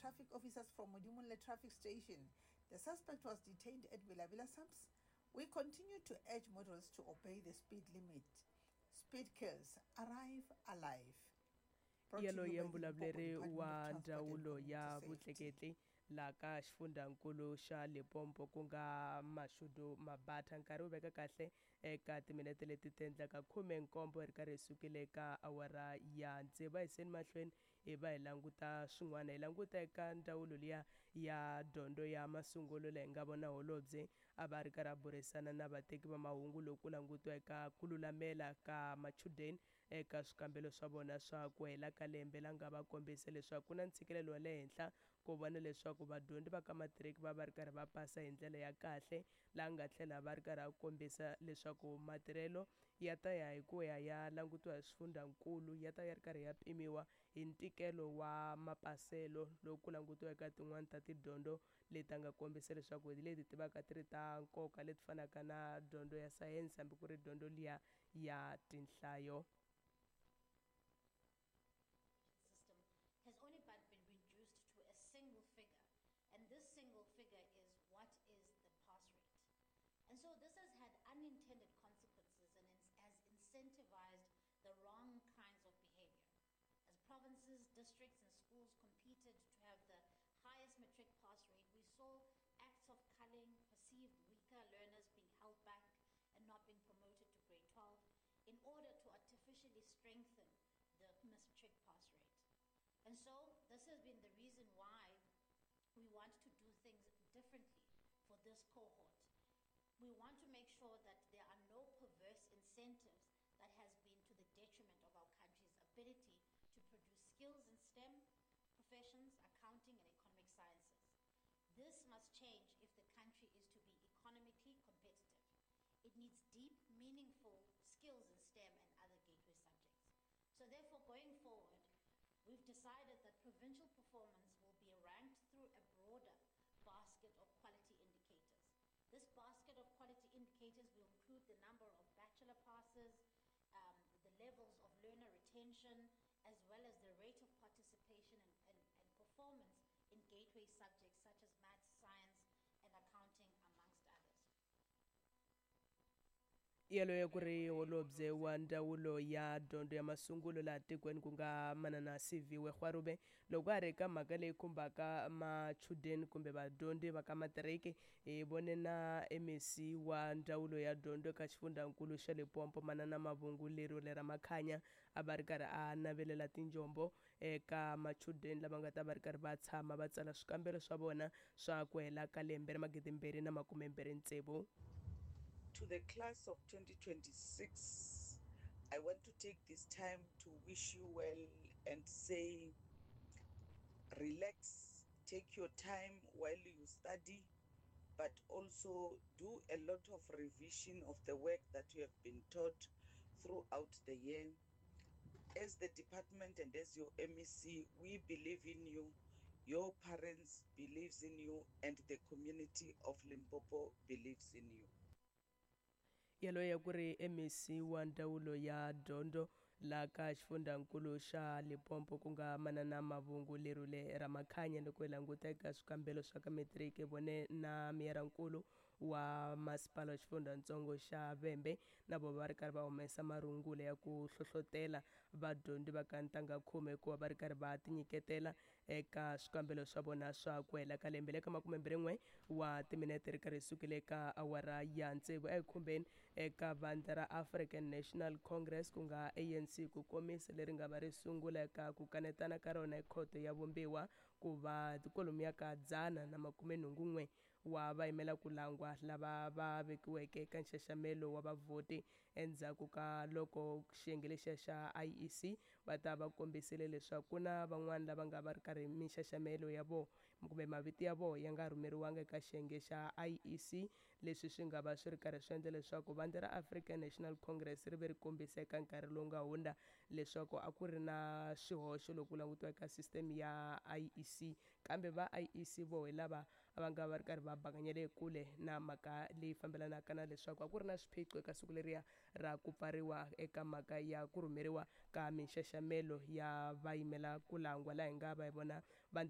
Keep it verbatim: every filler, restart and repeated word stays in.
traffic officers from Modimolle Traffic Station. The suspect was detained at Bela-Bela SAPS. We continue to urge motorists to obey the speed limit. Speed kills. Arrive alive. Brought to you Yaloye by the Limpopo mbulavuleri Department of wa Transport and ndzawulo Community ya Safety. Vutleketli laha ka xifundzankulu xa Limpopo, ku nga Mashudu Mabatha. Nkarhi wu veka kahle eka timinete leti ti endlaka khume nkombo hi ri karhi hi sukile eka awara ya tsevu. A hi yiseni mahlweni hi va hi languta swin'wana, hi languta eka ndzawulo liya ya dyondzo ya masungulo, laha hi nga vona holobye a va ri karhi a burisana na vateki va mahungu loko ku langutiwa eka ku lulamela ka machudeni eka swikambelo swa vona swa ku hela ka lembe, la nga va kombisa leswaku ku na ntshikelelo wa le henhla ku vona leswaku vadyondzi va ka matiriki va va ri karhi va pasa hi ndlela ya kahle, laha nga tlhela va ri karhi a kombisa leswaku matirhelo ya ta ya hi ku ya ya langutiwa hi swifundzankulu, ya ta ya ri karhi ya pimiwa hi ntikelo wa mapaselo loko ku langutiwa eka tin'wani ta tidyondzo leti a nga kombisa leswaku hi leti ti vaka ti ri ta nkoka, leti fanaka na dyondzo ya sayense hambi ku ri dyondzo liya ya tinhlayo. System has only but been reduced to a single figure, and this single figure is what is the pass rate. And so this has had unintended consequences and ins-, has incentivized the wrong kinds of behavior. As provinces, districts, and schools competed to have the highest matric pass rate, we saw acts of culling, perceived weaker learners being held back and not being promoted to grade twelve in order to artificially strengthen the matric pass rate. And so this has been the reason why we want to do things differently for this cohort. We want to make sure that there are no perverse incentives that has been to the detriment of our country's ability to produce skills in STEM professions, accounting, and economic sciences. This must change if the country is to be economically competitive. It needs deep, meaningful skills in STEM and other gateway subjects. So therefore, going forward, we've decided that provincial performance will be ranked through a broader basket of quality indicators. This basket of quality indicators will include the number of bachelor passes, um, the levels of learner retention, as well as the rate of participation and, and, and performance in gateway subjects such as maths, science, and accounting, amongst others. Yaloye ku ri holobye wa ndzawulo ya dyondzo ya masungulo laha tikweni, ku nga manana Siviwe Gwarube, loko a ri ka mhaka leyi khumbaka machudeni kumbe vadyondzi va ka matiriki. Hi vone na M E C wa ndzawulo ya dyondzo eka xifundzankulu xa Limpopo, manana Mavhungu Lerule Ramakhanya, a va ri karhi a navelela tinjombo eka machudeni lava nga ta va ri karhi va tshama va tsala swikambelo swa vona swa ku hela ka lembe ra magidimbirhi na makumembirhi tsevu. To the class of twenty twenty-six, I want to take this time to wish you well and say, relax, take your time while you study, but also do a lot of revision of the work that you have been taught throughout the year. As the department and as your M E C, we believe in you. Your parents believes in you and the community of Limpopo believes in you. Yaloye ku ri M E C wa ndzawulo ya dyondzo laha ka xifundzankulu xa Limpopo, ku nga manana Mavhungu Lerule Ramakhanya. Loko hi languta eka swikambelo swa ka matiriki, vone na meyarankulu wa masipala wa xifundzatsongo xa Vhembe na vo va ri karhi va humesa marungula ya ku hlohlotela vadyondzi va ka ntangha khume ku va va ri karhi va tinyiketela eka swikambelo swa vona swa ku hela ka lembe. Le ka makumembirhi n'we wa timinete ri karhi sukile eka awara ya tsevu, ekhumbeni eka vandla ra African National Congress, ku nga A N C ku komisa, leri nga va ri sungula eka ku kanetana ka rona ekhoto ya vumbiwa ku va kwalomuya ka dzana na makume nhungu n'we wa vayimela ku langwa lava va vekiweke eka nxaxamelo wa vavhoti, endzhaku ka loko xiyenge lexiya xa I E C va ta va kombisile leswaku ku na van'wani lava nga va ri karhi minxaxamelo ya vona kumbe mavito ya vona ya nga rhumeriwanga eka xiyenge xa I E C, leswi swi nga va swi ri karhi swi endla leswaku vandla ra African National Congress ri ve ri kombisa eka nkarhi lowu nga hundza leswaku a ku ri na swihoxo loko ku langutiwa eka system ya I E C, kambe va I E C vo hi lava va nga va ri karhi va bakanyela kule na mhaka leyi fambelanaka na leswaku a ku ri na swiphiqo eka siku leriya ra ku pfariwa eka mhaka ya ku rhumeriwa ka minxaxamelo ya vayimela ku langwa, laha hi nga va hi vona vandla.